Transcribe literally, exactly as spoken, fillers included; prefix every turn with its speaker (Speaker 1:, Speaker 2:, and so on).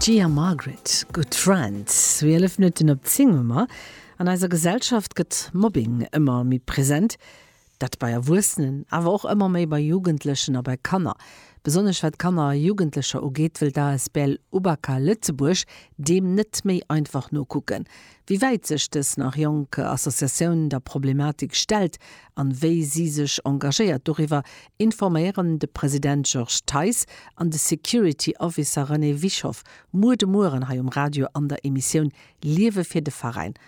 Speaker 1: Gia Margaret, Good Friends. Zwielef Minutten op zéng hu mer. An eiser Gesellschaft gëtt Mobbing ëmmer méi present, dat bei Erwuessenen, awer och ëmmer méi bei Jugendlechen a bei Kanner. Besonnesch wat Kanner a Jugendlecher ugeet, wëll d'A S B L Ubaka Lëtzebuerg deem net méi einfach nokucken. Wéi wäit sech dës nach jonk Associatioun der Problematik stellt an wéi si sech engagéiert, doriwwer informéieren de President Georges Theis an de Security Officer René Wischoff muer de Mueren hei um Radio an der Emissioun Liewe fir de Veräin.